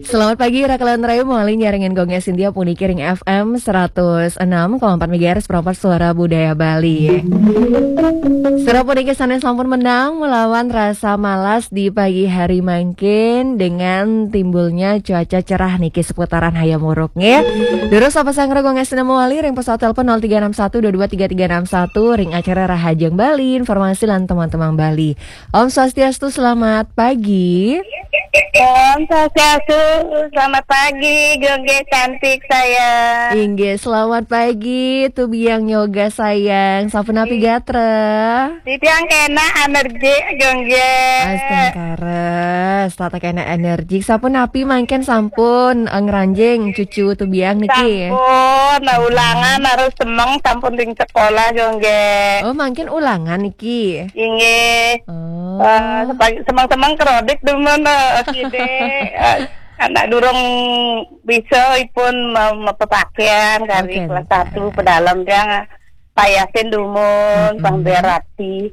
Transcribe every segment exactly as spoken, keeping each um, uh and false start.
Selamat pagi, Raka lan Rayu, mawali nyarengin Gong Sintia puniki ring F M seratus enam koma empat megahertz, Pro empat Suara Budaya Bali. Sira puniki sanes sampun menang melawan rasa malas di pagi hari mangkin dengan timbulnya cuaca cerah niki seputaran Hayam Wuruk, nggih. Durus sapa sang Gong Sintia mawali ring pesawat telepon nol tiga enam satu dua dua tiga tiga enam satu ring acara Rahajeng Bali, informasi lan teman-teman Bali. Om Swastiastu, selamat pagi. Om Swastiastu, selamat pagi, Gongge cantik sayang. Inggih, selamat pagi, Tubiang Yoga sayang. Sapunapi gatra? Titiang kena energi, Gongge. Astungkara, setata kena energi. Sapunapi mangkin sampun, eh, ngranjing cucu Tubiang niki? Sampun, nah, ulangan harus semeng, sampun ring sekolah, Gongge. Oh, mangkin ulangan niki? Inggih. Oh. Eh, sepagi-, semeng-semeng kredit dumun, eh, side. Eh, anak durung bisa ipun me-, mepepakaian kali. Oke, kelas satu pedalem tiang payasin dumun, pang berati.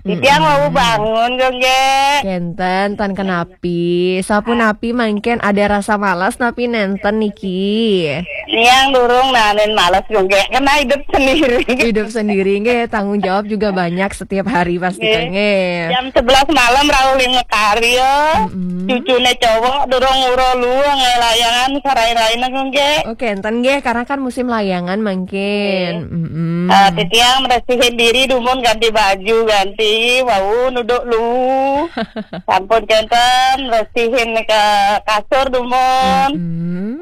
Titiang mau bangun, Gongge. Kenten, tan kenapi. Sapunapi mangkin ada rasa malas napi nenten niki? Yang durung nanin males, Gongge. Kena hidup sendiri. Hidup sendiri, nggih. Tanggung jawab juga banyak setiap hari pasti, nggih, kan, nggih. Jam sebelas malam rauh ring karya. Cucune cowok durung uro luwung, eh, layangan sarai-raine, Gongge. Oke, enten, nggih, karena kan musim layangan mangkin. Nggih. Eh, titiang meresihin diri dumun, ganti baju, ganti, wau nuduk lu. Sampun kenten, resihin ke kasur dumun.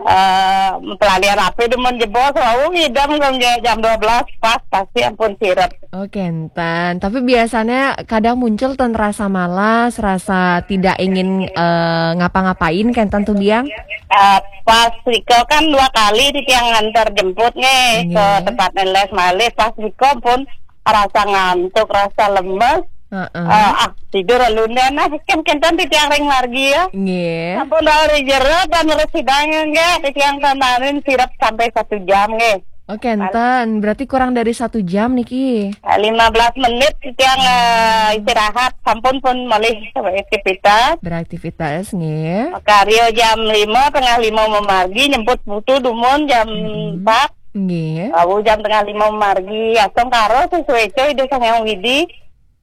Eh, pelalian api dumun jebos, wau ngidam, Gongge, jam dua belas pas, pasti ampun sirep. Oh, kenten. Tapi biasanya kadang muncul ten rasa malas, rasa tidak ingin, eh, ngapa-ngapain, kenten Tubiang? Eh, pas riko kan dua kali titiang ngantar jemput nih ke tempat les malih, pas riko pun rasa ngantuk, rasa lemes. Heeh. Eh, ah, tidur alunda nah, kan kenten titiang ring margi ya. Nggih. Sampun rauh ring jero, tan residang nggih, titiang tananin sirep sampai satu jam nggih. Oh, kenten. Berarti kurang dari satu jam niki. Eh, lima belas menit titiang, eh, istirahat, sampun pun malih beraktivitas. Beraktivitas, nggih. Karya jam lima, tengah lima memargi, nyemput putu dumun jam empat. Nggih. Wau jam tengah lima memargi, astungkara sesuai coy Ida Sang Hyang Widi.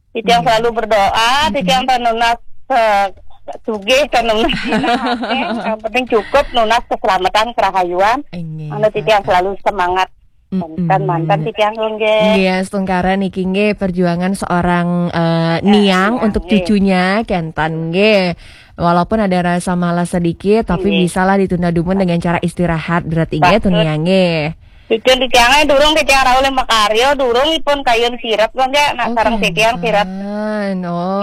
Titiang selalu berdoa, titiang tan nunas, eh, sugih, tan nunas dina akeh. Yang penting cukup nunas keselamatan, kerahayuan. Inggih, anu titiang selalu semangat. Mantan, mantan titiang, Gongge. Nggih, astungkara niki nggih perjuangan seorang, eh, niang untuk cucunya, kenten nggih. Walaupun ada rasa malas sedikit, tapi bisalah ditunda dumun dengan cara istirahat, berarti nggih, Tuniang nggih. Cucun titiange durung titiang rauh ring makarya, durung ipun kayun sirep, Gongge. Nak sareng titiang sirep. Oh,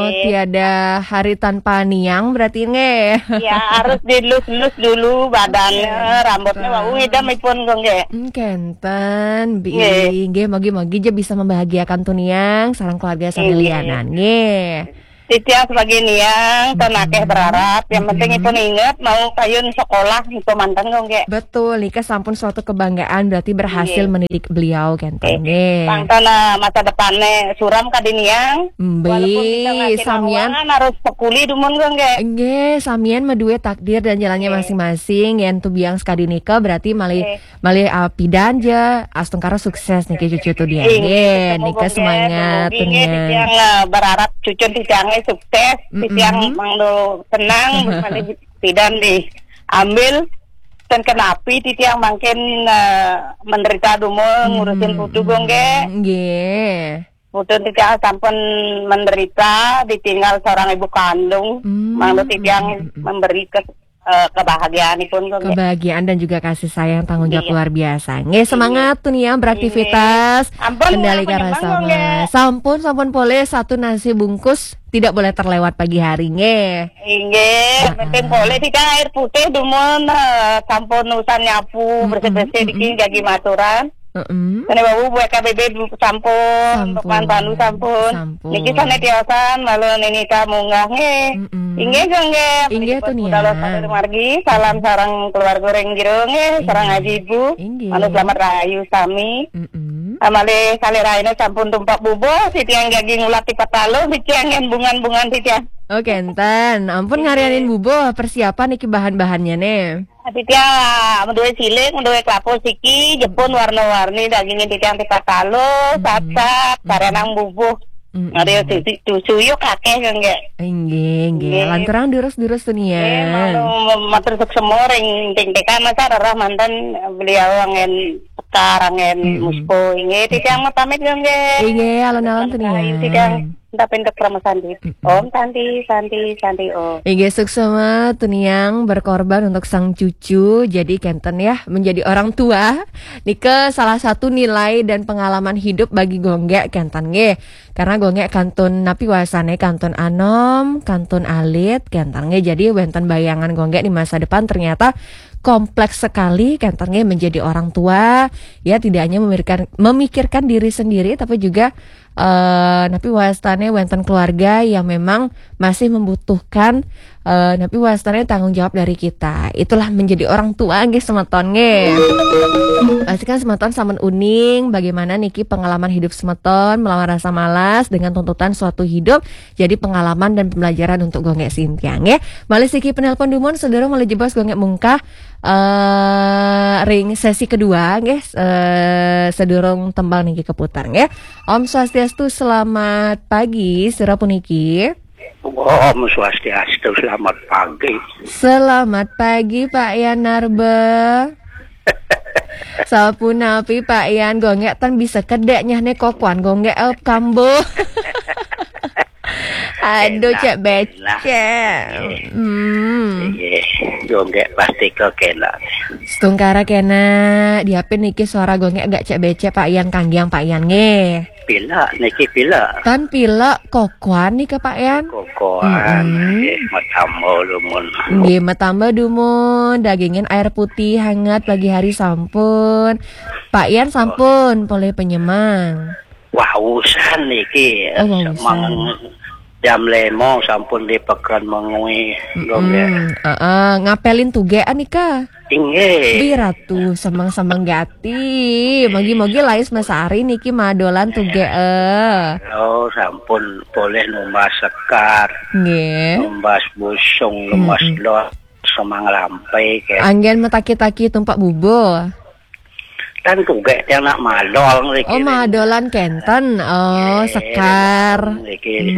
nggih. Tiada hari tanpa niang berarti nggih. Ya, harus dilus-lus dulu badannya, rambutnya, wau ngidam ipun, Gongge. Hmm, kenten, Bi. Nggih. Nggih, mogi-mogi ja bisa membahagiakan Tuniang sareng keluarga sami lianan. Nggih. Titiang sebagai niang, tan akeh berharap. Yang penting ipun inget, mau kayun sekolah, itu mantan, Gongge. Betul, nika sampun suatu kebanggaan, berarti berhasil mendidik beliau, kenten, nggih. Pang tan, eh, masa depannya suram kadi niang. Mbe, walaupun kita ngasih samian, harus pekuli dumun, Gongge. Nggih, samian madue takdir dan jalannya masing-masing. Yen Tubiang sekadi nika, berarti malih malih, ah, pidan ja, astungkara sukses niki cucu Tuniang. Inggih, nggih, nika semangat, Tuniang. Titiang, eh, berharap cucun titiange sukses, titiang mangdo tenang, malih pidan diambil, dan kenapi titiang mangkin, eh, menderita dumun ngurusin putu, Gongge. Nggih. Putun titiang sampun menderita, ditinggal seorang ibu kandung. Mangda titiang memberi ke-, eh, kebahagiaan ipun, Gongge. Kebahagiaan dan juga kasih sayang, tanggung jawab luar biasa. Nggih, semangat Tuniang beraktivitas. Ampun, kendalikan rasa malas. Sampun, sampun polih, satu nasi bungkus tidak boleh terlewat pagi hari, nggih. Inggih, penting polih titiang air putih dumun, eh, sampun usan nyapu, bersih-bersih dikit jagi maturan. Heeh. Kene wau buat K B B sampun, Lukman Panu sampun. Sampun. Niki sane tiosan, malu nini ka munggah nggih. Inggih, Gongge. Inggih, Tuniang. Margi, salam sareng keluarga ring jero nggih, sareng Aji Ibu. Inggih. Malu selamat rahayu sami. Malih kalih rahina sampun tumpak bubuh, titiang jagi ngulati pataluh, titiang nggih bungan-bungan titiang. Oke, enten. Ampun ngarianin bubuh, persiapan niki bahan-bahannya nih. Titiang menduwe siling, menduwe kelapa siki, jepun warna-warni, dagingin titiang tipat taluh, sat-sat, karenang bubuh. Ada suyuk akeh nggih. Inggih, inggih. Lanturang durus-durus tuh nih ya. Matur suksema ring ting tekan masa rerah manten beliau angin sekar angin muspo inggih titiang pamit nggih. Inggih, alon-alon tuh nih ya. Titiang tapi untuk Rama Santi. Om Santi, Santi, Santi Om. Inggih, suksema tuniang berkorban untuk sang cucu. Jadi kenten ya, menjadi orang tua nika salah satu nilai dan pengalaman hidup bagi Gonggek kenten nggih. Karena Gonggek kantun napi wasane kantun anom, kantun alit kenten nggih. Jadi wenten bayangan Gonggek di masa depan ternyata kompleks sekali kenten nggih menjadi orang tua. Ya tidak hanya memikirkan memikirkan diri sendiri tapi juga eh napi wastane wenten keluarga yang memang masih membutuhkan eh napi wastane tanggung jawab dari kita. Itulah menjadi orang tua nggih semeton nggih. Pastikan semeton sampun uning bagaimana niki pengalaman hidup semeton melawan rasa malas dengan tuntutan suatu hidup jadi pengalaman dan pembelajaran untuk Gonggek Sintiang nggih. Malih siki penelpon dumun sedurung malih jebos Gonggek mungkah eh ring sesi kedua nggih eh sedurung tembang niki keputar nggih. Om Swastiastu, selamat pagi, sira puniki. Om Swastiastu, selamat pagi. Selamat pagi Pak Yan Narba. Sapunapi Pak Yan, Gonggek tan bisa kedek nyah ne kokuan Gonggek el kambo. Aduh cek becek. Hmm. Gonggek pasti kok kena. Setungkara kena, diapin niki suara Gonggek agak cek becek Pak Yan kanggiang Pak Yan nggih. Pila niki pila. Tan pila kokoan nika Pak Yan. Kokoan nggih matamba dumun. Nggih matamba dumun, dagingin air putih hangat pagi hari sampun. Pak Yan sampun polih penyemang. Wausan niki. Oh, wausan. Jam lemo sampun di peken mengui. Hmm, uh, uh, ngapelin tugean nika. Inggih. Biratu semang-semang gati. Mogi-mogi lais mesari niki madolan tuge eh. Oh, sampun polih numbas sekar. Nggih. Numbas busung, numbas lot, semang lampai ke. Anggen metaki-taki tumpak bubuh. Kan tuge tiang nak madol ngriki. Oh, madolan kenten. Oh, sekar. Ngriki.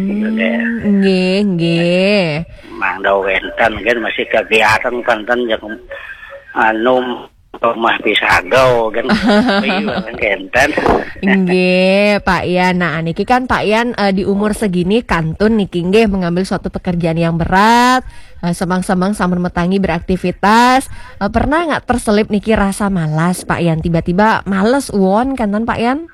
Nggih, nggih. Mangda wenten kan masih kegiatan kenten yang anu rumah pisagau kan. Iya kan kenten. Nggih, Pak Yan. Nah, niki kan Pak Yan eh, di umur segini kantun niki nggih mengambil suatu pekerjaan yang berat. Eh, semang-semang sampun metangi beraktivitas. Eh, pernah nggak terselip niki rasa malas Pak Yan? Tiba-tiba males uon kenten Pak Yan?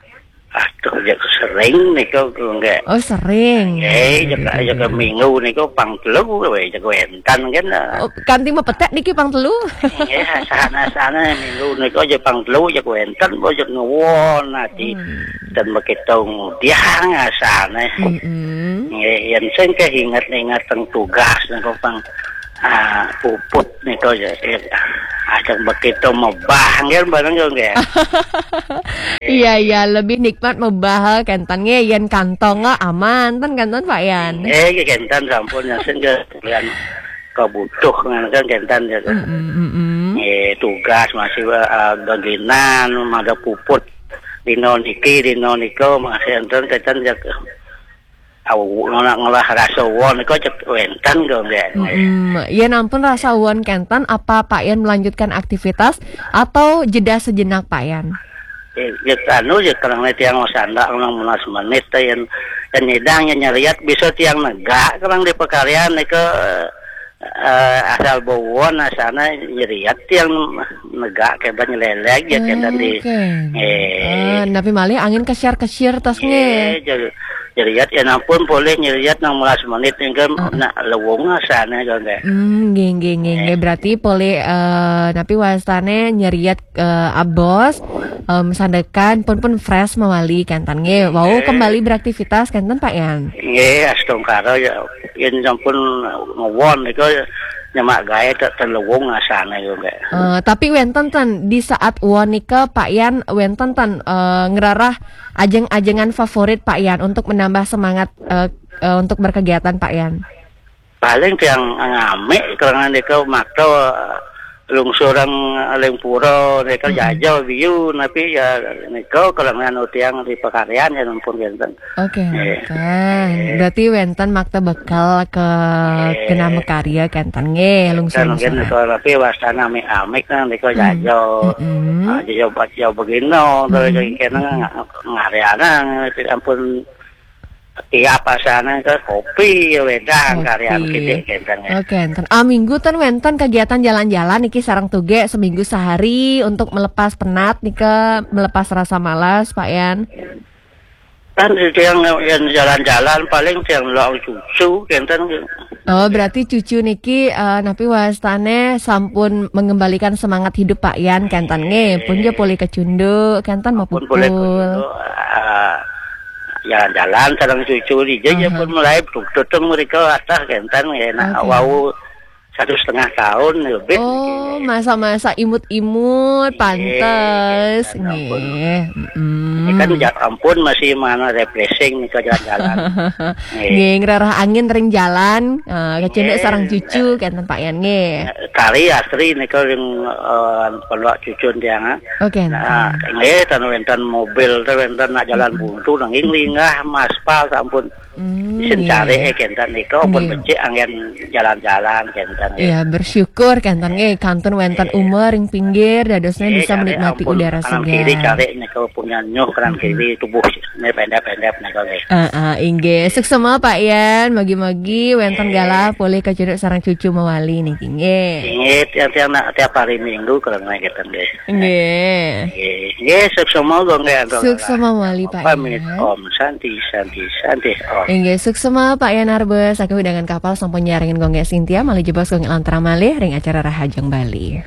Aduh, ya sering nika nggih. Oh, sering. Eh, jaga jaga minggu nika pang telu we jaga wenten kan. Oh, kanti mepetek niki pang telu. Nggih, sana-sana minggu nika aja pang telu jaga wenten bo jaga ngewon ati. Dan begitu ngudiang asane. Mm-mm. Nggih, yen sing keinget-inget teng tugas nika pang ah, puput nika ya. Ajak begitu mebah nggih bareng yo nggih. Iya, iya, lebih nikmat mebah kenten nggih yen kantong aman ten kenten Pak Yan. Eh, nggih kenten sampun ya sing ke kalian kebutuh kan kenten ya. Mm-mm, mm-mm. Eh, tugas masih uh, gaginan ada puput dino niki dino nika masih enten kenten ya. Au ngelah ngelah rasa won nika cek wenten kok nggih. Mm-mm. Yen ampun rasa uon kenten apa Pak Yan melanjutkan aktivitas atau jeda sejenak Pak Yan? Ya, ya anu ya kerana tiang sandak enam belas menit teh yang yang nyidang yang nyeriat bisa tiang negak kerang di pekarian nika eh, asal bawon asana nyeriat tiang negak keban nyelelek ya keban di Oke. eh Ah, napi malih angin kesiar-kesiar tas nggih. eh jadi nyeriat ya ampun boleh nyeriat enam belas menit nika nak lewung asana kok nggih. Hmm, nggih, nggih, nggih, nggih. Berarti polih eh, napi wastane nyeriat eh, abos em, sandekan pun pun fresh mawali kenten nggih. Wau kembali beraktivitas kenten Pak Yan. Nggih, astungkara ya yen sampun ngewon nika ya nyemak gaé, teu teu luwung asané yo, Gék. Eh, tapi wénten ten di saat won nika Pak Yan, wénten ten, eh, ngerarah ajeng-ajengan favorit Pak Yan untuk menambah semangat, eh, eh, untuk berkegiatan Pak Yan? Paling tiang ngamé kerangan nika makta lungsuran Lingpura nika, jaja biu, tapi ya nika kerangan tiang di pakaryan ya ampun wénten. Oke, wénten. Berarti wénten makta bekal ke genah makarya kénten nggih, lungsur. Kan mungkin nika tapi wastana amik-amik kan nika jaja. Ah, jaja, jaja begino, terus kéné nga-, ngaryana, ampun tiap asana ke kopi, ya wédang karyan kidik kénten ya. Oke, enten. Ah, minggu ten wénten kegiatan jalan-jalan niki sareng tugé seminggu sehari untuk melepas penat nika, melepas rasa malas, Pak Yan. Kan itu yang, yang jalan-jalan paling yang lok cucu kénten. Oh, berarti cucu niki, eh, napi wastané sampun mengembalikan semangat hidup Pak Yan kénten nggih. Pun ja polih kecunduk kénten mapupul. Pun polih kecunduk, eh, jalan-jalan sareng cucu di ja pun mulai tututeng mereka atah kénten nggih. Nah, wau satu setengah tahun lebih. Oh, masa-masa imut-imut, pantes. Nggih. Ini kan ja ampun masih mana refreshing nih ke jalan-jalan. Nggih, ngerarah angin ring jalan, eh, kecunduk sareng cucu kénten Pak Yan nggih. Kari asri nika ring, eh, pondok cucun tiang, ah. Oke. Nah, nggih, ten wénten mobil, ten wénten nak jalan buntu, nanging linggah maspal sampun isin caré kénten nika pun becik anggén jalan-jalan kénten. Ya, bersyukur kénten nggih kantun wénten umur ring pinggir dadosnya bisa menikmati udara segar. Kanan kiri caré nika punya nyuh, kanan kiri tubuh né pendek-pendek nika nggih. Heeh, inggih. Suksma Pak Yan, mugi-mugi wénten galah polih kecunduk sareng cucu mawali niki nggih. Inggih, tiap, tiap, tiap hari Minggu kalau nggih kénten nggih. Nggih. Nggih, nggih, suksma mawali Pak Yan. Pamit, Om Santi, Santi, Santi, Om. Inggih, suksma Pak Yan Arbes, saking wewidangan Kapal sampun nyarengin Gung Gék Sintia, malih jebos Gung Gék Lantra malih ring acara Rahajeng Bali.